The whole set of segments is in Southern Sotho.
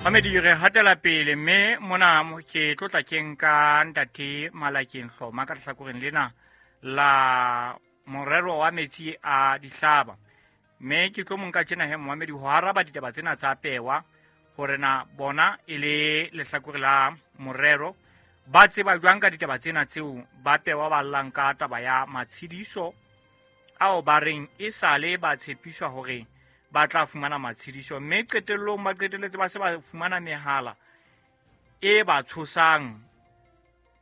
Mamedi re hatela pele mme mona ke tlotla ke nka ntate Malakeng Hloma ka lehlakoreng lena la morero wa metsi a dihlaba. Mme ke tlo monka tjena he momamedi ho araba ditaba tsena tsa pewa hore na bona e le lehlakore la morero ba tseba jwang ka ditaba tsena tseo ba pewa ba llang ka taba ya matshediso ao ba reng e sale ba tshepiswa hore ba tla fumana matshediso, mme qetellong ba qetelletse ba se ba fumana mehala e ba tshosang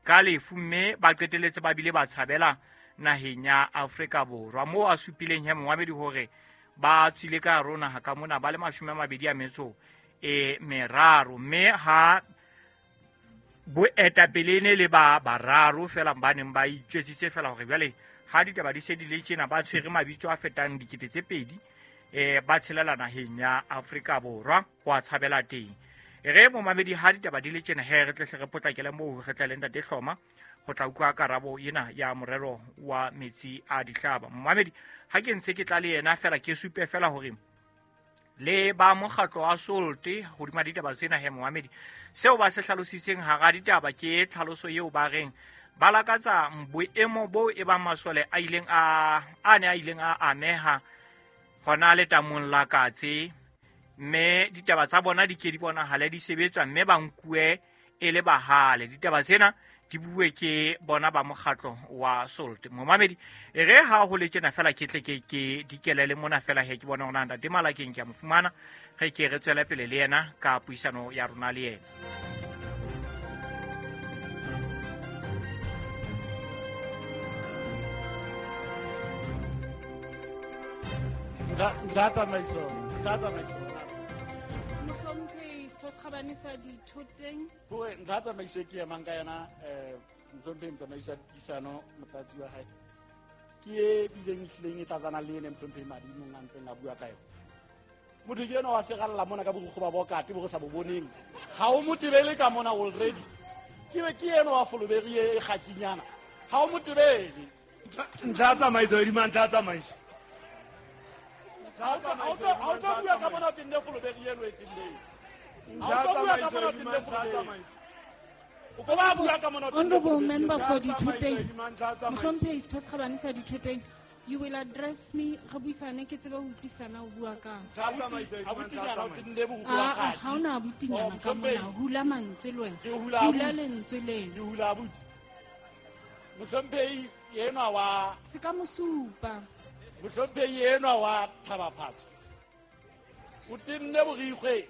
ka lefu, mme ba qetelletse ba bile ba tshabela naheng ya Afrika Borwa, moo a supileng he momamedi hore ba tswile ka hare ho naha ka mona ba le 23, mme ha boetapele ne le ba bararo fela ba neng ba itjwetsitse fela hore jwale ha ditaba di se di le tjena ba tshwere mabitso a fetang 2000 ba tshelela naheng ya Afrika Borwa ho a tshabela teng. Re momamedi ha ditaba di le tjena he re tle re potlakele moo re tle le ntate Hloma ho tla utlwa karabo ena ya morero wa metsi a dihlaba. Momamedi ha ke ntse ke tla le yena fela ke supe fela hore le ba mokgatlo wa Solte hodima ditaba tsena he momamedi seo ba se hlalositseng hara ditaba ke tlhaloso eo ba reng ba lakatsa boemo bo e bang masole a ileng a ne a ileng a ameha hona letamong la Katse, mme ditaba tsa bona di ke di bonahale di sebetswa mme ba nkuwe e le bahale. Ditaba tsena di bue ke bona ba mokgatlo wa Solte. Momamedi e re ha ho le tjena fela ke tle ke dikelele mona fela he ke bona hore ntate Malakeng ke a mo fumana, re ke re tswele pele le yena ka puisano ya rona le yena. Ntlha tsamaiso. Mohlomphehi Setho se Kgabane sa Dithoteng. Hore ntlha tsamaiso e ke emang ka yona, mohlomphehi motsamaisi wa dipuisano, motlatsi wa hae, ke e bileng e hlileng e tlatsana le ene mohlomphehi Madimong a ntseng a bua ka yona. Motho ke enwa wa feralla mona ka borukgo ba bokate bo re sa bo boneng. Ha o mo tebele ka mona already. Ke be ke enwa wa foloberi e kgakinyana. Ha o mo tebele. Ntlha tsamaiso, hodima ntlha tsamaiso. Ha o tlo bua ka mona o tenne foloberi eno e tenneng. Ha o tlo bua ka mona o tenne foloberi. O ko ba bua ka mona o tenne Honorable member for Dithoteng. Mohlomphehi Setho se Kgabane sa Dithoteng, you will address me re buisane ke tsebe ho utlwisana o bua kang. Abutinyana o tenne borukgo ba kgadi. Ha ona abutinyana ka mona, hula mantswe le wena. Ke hula Hula abuti. lentswe leno. Ke hula abuti. Mohlomphehi enwa wa Se ka mo supa. Mohlomphehi enwa wa Thabaphatso o tenne borikgwe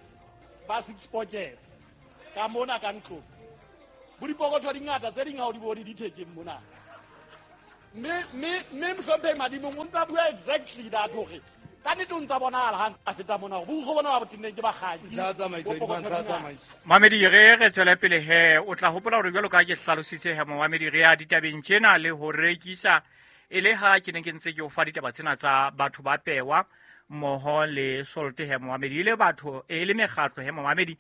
ba six pockets ka mona ka ntlong. Bo dipokotho di ngata tse ding ha o di bone di thekeng mona. Mme mohlomphehi Madimong o ntsa bua exactly that hore ka nnete o ntsa bonahala ha ntse a feta mona hore borukgwe bona ba bo tenneng ke bakgadi. Ntlha tsamaiso, Bo pokotho ntlha di ngata. tsamaiso. Mamedi re tswele pele he o tla hopola hore jwalo ka ha ke hlalositse he momamedi re ya ditabeng tjena le ho rekisa e le ha ke ne ke ntse ke o fa ditaba tsena tsa batho ba pewa mmoho le Solte he momamedi e le batho e le mekgatlo he momamedi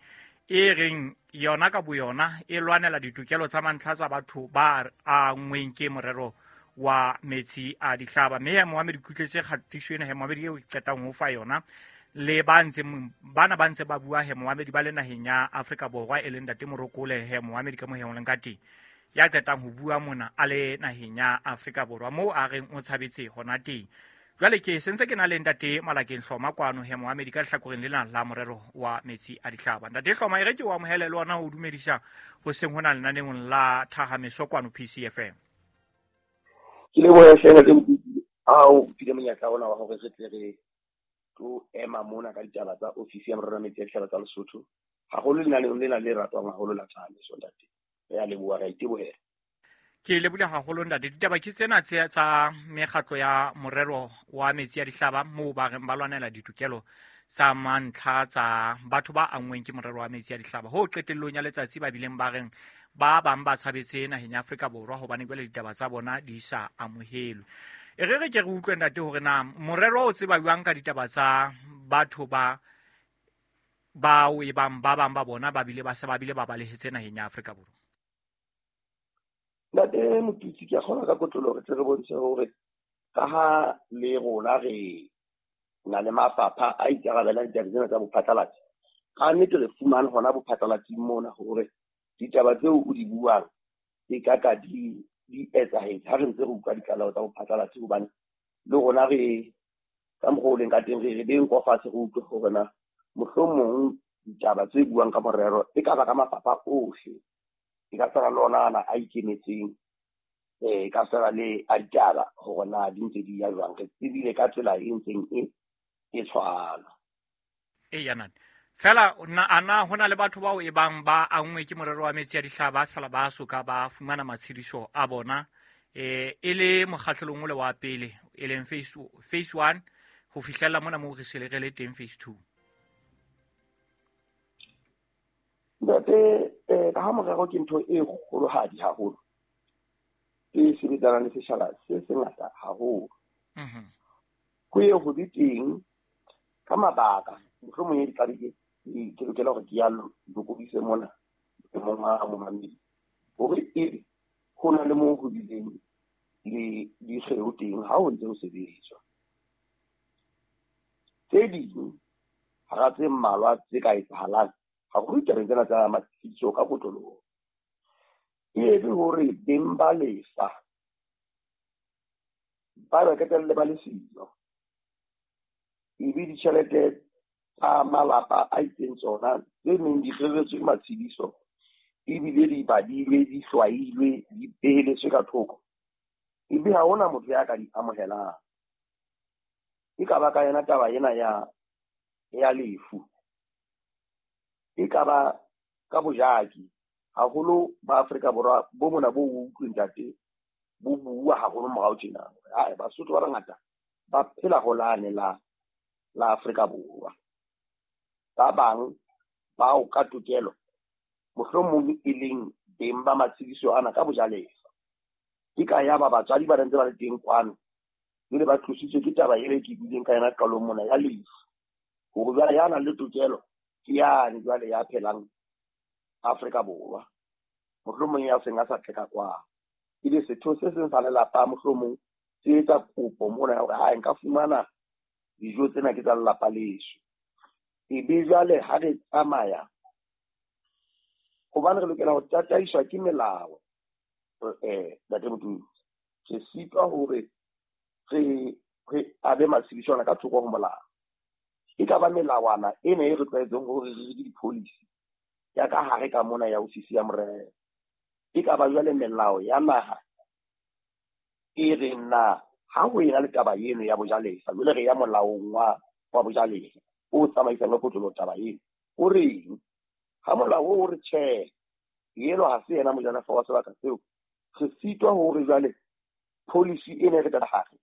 e reng yona ka boyona e lwanela ditokelo tsa mantlha tsa batho ba angweng ke morero wa metsi a dihlaba. Mme he momamedi ke utlwetse kgatiso ena he momamedi eo ke qetang ho fa yona le ba ntseng bana ba ntse ba bua he momamedi ba le naheng ya Afrika Borwa e leng ntate Morokole he momamedi ka mo he o leng ka teng ya qetang ho bua mona a le naheng ya Afrika Borwa moo a reng o tshabetse hona teng. Jwale ke sentse ke na le ntate Malakeng Hloma kwano he momamedi ka lehlakoreng lena la morero wa metsi a dihlaba. Ntate Hloma e re ke o amohele le ona ho dumedisa hoseng hona lenaneong la Thahameso kwano PCFM. Ke lebohe hle ntate Mokete, ha o file monyetla ona wa hore re tle re tlo ema mona ka ditaba tsa ofisi ya morero wa metsi a dihlaba tsa Lesotho. Haholo lenaneong lena le ratwang haholo la Thahameso ntate. Re a leboha, re a itebohela. Ke lebohile haholo ntate. Ditaba ke tsena tse tsa mekgatlo ya morero wa metsi a dihlaba moo ba reng ba lwanela ditokelo tsa mantlha tsa batho ba angweng ke morero wa metsi a dihlaba. Ho qetellong ya letsatsi ba bileng ba reng ba bang ba tshabetse naheng ya Afrika Borwa hobane jwale ditaba tsa bona di sa amohelwe. E re re ke re utlwe ntate hore na morero o tseba jwang ka ditaba tsa batho ba bao e bang ba bang ba bona ba bile ba se ba bile ba balehetse naheng ya Afrika Borwa. Ntate Motutsi, ke a kgona ka kotloloho re tle re bontshe hore ka ha le rona re na le mafapha a ikarabelang ditabeng tsena tsa bophatlalatsi, Ka nnete re fumane hona bophatlalatsing mona hore ditaba tseo o di buang e ka ka di etsahetse ha re ntse re utlwa ditlaleho tsa bophatlalatsi, hobane le rona re ka mokgwa o leng ka teng re beng kwa fatshe re utlwe hore na mohlomong ditaba tse buang ka morero e ka ba ka mafapha ohle, e ka tshwana le ona ana a ikemetseng, e ka tshwana le a ditaba hore na di ntse di ya jwang. Re tsebile ka tsela e ntseng e tshwana. Eya nane fela ana hona le batho bao e bang ba angwe ke morero wa metsi a dihlaba fela ba soka ba fumana matshediso a bona e le mokgahlelong o le wa pele e leng phase 1 ho fihlela mona moo re se re le teng phase 2. Ntate, ka ha morero ke ntho e kgolohadi haholo e sebetsanang le setjhaba se sengata haholo. Ho ye ho be teng ka mabaka mohlomong e ditlabe ke lokela hore ke ya lokodise mona mong wa momamedi hore ebe ho na le moo ho bileng le dikgeo teng ha ho ntse ho sebetswa. Tse ding hara tse mmalwa tse ka etsahalang haholo ditabeng tsena tsa matshediso ka kotloloho e be hore beng ba lefa ba ba qetelle ba le siyo, ebe ditjhelete tsa malapa a itseng tsona tse neng di reretswe matshediso ebile di badilwe, di hlwailwe, di beheletswe ka thoko, ebe ha hona motho ya ka di amohelang. E ka ba ka yona taba ena ya lefu, e ka ba ka bojaki haholo ba Afrika Borwa bo mona bo utlwe ntate bo bua haholo morao tjena. Hai, Basotho ba bangata ba phela ho lane la Afrika Borwa. Ba bang bao ka tokelo mohlomong e leng beng ba matshediso ana ka bojalefa, ke ka ya ba batswadi ba ntse ba le teng kwano, jwale ba tlositswe ke taba ele ke buileng ka yona qalong mona ya lefu, hore jwale ya nang le tokelo ke yane jwale ya phelang Afrika Borwa, mohlomong ya seng a sa tleka kwa. Ebe setho se seng sa lelapa mohlomong se etsa kopo mona ya hore ha nka fumana dijo tsena ke tsa lelapa leso. Ebe jwale ha re tsamaya, hobane re lokela ho tataiswa ke melao, ntate Motumi, re sitwa hore re abe matshediso ana ka thoko ho molao. E ka ba melawana ena e re tlwaetseng hore re ke di-policy ya ka hare ka mona ya ofisi ya morero. E ka ba jwale melao ya naha e reng na ha ho ena le taba eno ya bojalefa, jwale re ya molaong wa bojalefa o tsamaisang ka kotloloho taba eno, o reng? Ha molao o re tjhe, eno ha se yena mojalefa wa sebaka seo, re sitwa hore jwale policy ena e re ka hare